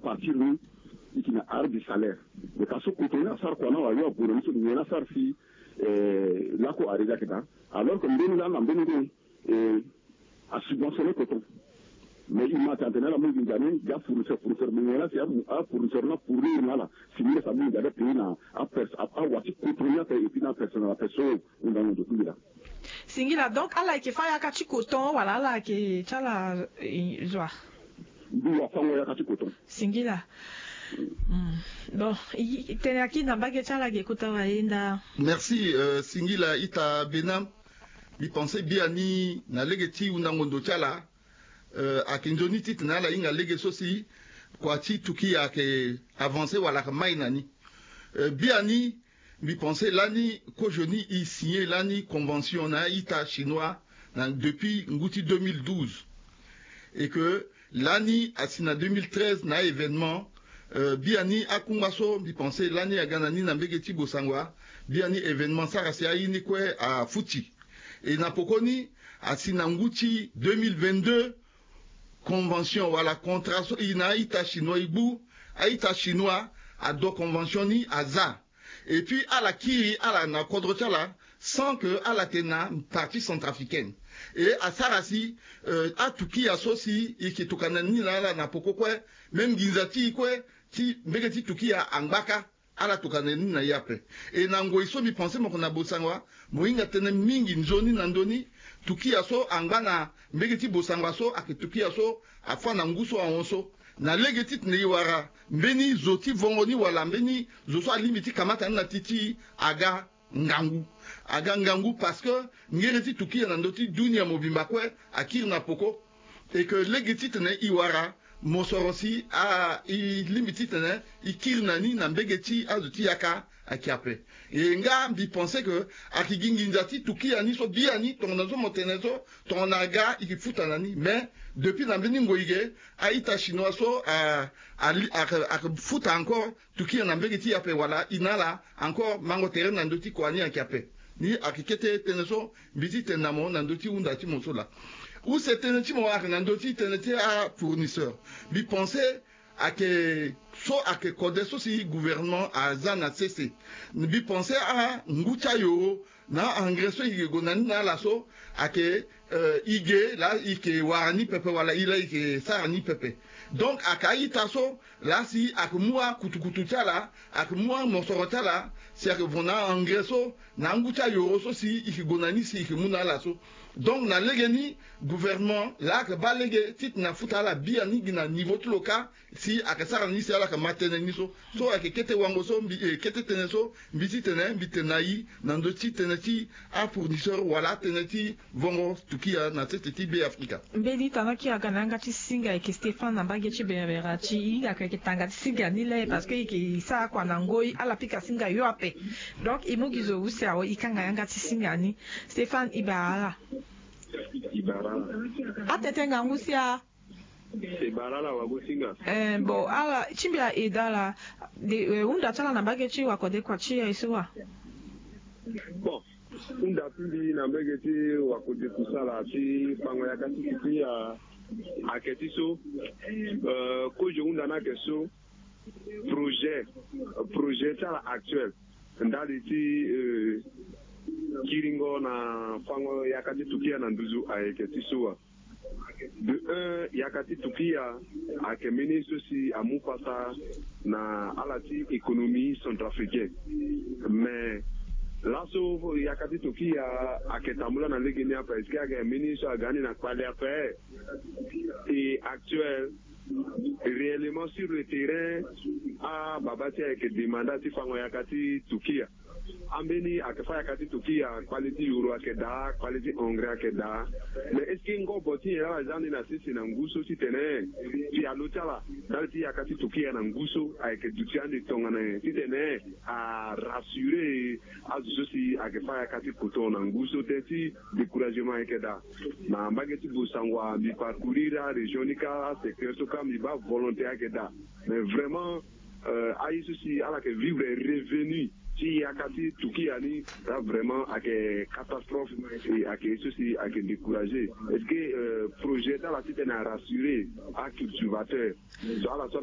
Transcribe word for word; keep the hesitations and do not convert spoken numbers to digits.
partir ni, i yeke na arrêt du salaire. Mais ka so koto ni asara kua na wayo aboro ni so nyen asara si lako arrêt ni ayeke daa? Alors que mbeni laa na mbeni ngoi e asubventionner coton. Mais i ma tene atene ala mu nginza ni gi afournisseur, fournisseur, mais nyen laa si afournisseur ni afournir na ala si ni laa si amu nginza ni apayer na awa ti coton ni ape et puis na apersonnel ape so. Hundango ndo kungila. Singila, donc ala yeke fâ yaka ti coton wala ala yeke ti ala zo wa? Mbi wa fango yaka ti coton. Singila. Bon, tene aki na mbage ti ala ge kota wa yenda. Merci. Singila ita Benam. Mbi pense biani na lege ti hundango ndo ti ala ayeke nzoni ti tene ala hinga lege so si kua ti Turquie ayeke avancer wala ayeke mai na ni. Biani mbi pense lani kozoni i signer lani convention na a-ita chinois na depuis ngu ti deux mille douze. Et que lani asi na deux mille treize na a-événement. Biani akungba so mbi pense lani aga na ni na mbege ti Bossangoa. Biani événement sara si aye ni kue afuti. Et na pokoni asi na ngu ti deux mille vingt-deux convention wala contrat so i na a-ita chinois i gbu. A-ita chinois ado convention ni aza. Et puis ala kiri ala na kodro ti ala sans que ala tene na partie centrafricaine. Et asara si aTurquia so si i yeke tokua na ni na ala na poko kue, même nginza ti i kue ti mbege ti Turquia angba kâ. Ala tokua na ni na e ape. E na ngoi so mbi pense mo yeke na Bossangoa, mo hinga tënë mingi nzoni na ndö ni. Turquia so angba na mbege ti Bossangoa so ayeke Turquia so afâ na ngu so ahon so. Na lege ti tene e wara mbeni zo ti vongo ni wala mbeni zo so alingbi ti kamata ni na ti ti e aga ngangu. Aga ngangu parce que ngere ti Turquia na ndö ti dunia mobimba kue akiri na poko. Et que lege ti tene e wara mosoro si e lingbi ti tene e kiri na ni na mbege ti azo ti yaka ayeke ape. E nga mbi pense que ayeke gi nginza ti Turquia ni so biani tongana so mo tene so tongana aga e yeke futa na ni. Mais depuis na mbeni ngoi ge a-ita chinois so ayeke futa encore Turquie na mbege ti e ape wala e na ala encore mango tere na ndö ti kua ni ayeke ape. Ni ayeke kete tënë so mbi ti tene na mo na ndö ti hunda ti mo so laa. Use tënë ti mo ayeke na ndö ti tënë ti afournisseur. Mbi pense ayeke so ayeke kode so si gouvernement aza na sese. Mbi pense angu ti ayoro na a-engrais so e yeke gue na ni na ala so ayeke e ge laa e yeke wara ni pepe wala e laa e yeke sara ni pepe. Donc ayeke a-ita so laa si ayeke mu akutukutu ti ala, ayeke mu amosoro ti ala si ayeke vo na a-engrais so na angu ti ayoro so si e yeke gue na ni si e yeke mu na ala so. Donc na lege ni gouvernement laa ayeke baa lege titene afuta ala biani gi na niveau ti lo kâ si ayeke sara ni si ala yeke ma tënë ni so. So ayeke kete wango so mbi kete tënë so mbi ti tene mbi tene na e na ndö ti tënë ti afournisseur wala atënë ti vongo Turquia na sese ti Be Afrika. Mbeni tana ki aga na yanga ti singa ayeke Stéphane na mbage ti Berbera ti e ayeke tanga ti singa ni le parce que e yeke sara kua na ngoi ala pika singa yo ape. Donc e mu gi zo use awe e kanga yanga ti singa ni. Stéphane e bara ala. E bara ala. Atete ngangu si a. E bara ala wagosinga. Eh, bon, ala ti mbi aye daa ala. Hunda ti ala na mbage ti wakode kua ti e so wa? Bon, hunda ti mbi na mbage ti wakode kusala ti fango yaka ti Turquie ayeke ti so. Kozo hunda ni ayeke so. Projet projet ti ala actuel ndali ti kiringo na fango yaka ti Turquie na nduzu ayeke ti so wa. De un, yaka ti Turquie ayeke mbeni so si amu pasa na ala ti économie centrafricaine. Mais laso yaka ti Turquie ayeke tambula na lege ni ape est-ce que ayeke mbeni so aga ni na kpale ape? Et actuel réellement sur le terrain, ababa ti e ayeke demanda ti fango yaka ti Turquie. Ambeni ayeke fâ yaka ti Turquie, kpale ti euro ayeke daa, kpale ti engrais ayeke daa. Mais est-ce que ngobo ti nyen laa aza ni na sese na ngu so titene pialo ti ala ndali ti yaka ti Turquie na ngu so ayeke duti ande tongana nyen titene arassurer azo so si ayeke fâ yaka ti poto na ngu so tënë ti découragement ayeke daa? Na mbage ti Bossangoa mbi parcourir arégion ni kâ, asecteur so kâ mbi baa volonté ayeke daa. Mais vraiment aye so si ala yeke vivre revenu ti yaka ti Turquie ni, là vraiment ayeke catastrophe. Et ayeke ye so si ayeke décourager. Est-ce que projet ti ala titene arassurer acultivateur? So ala so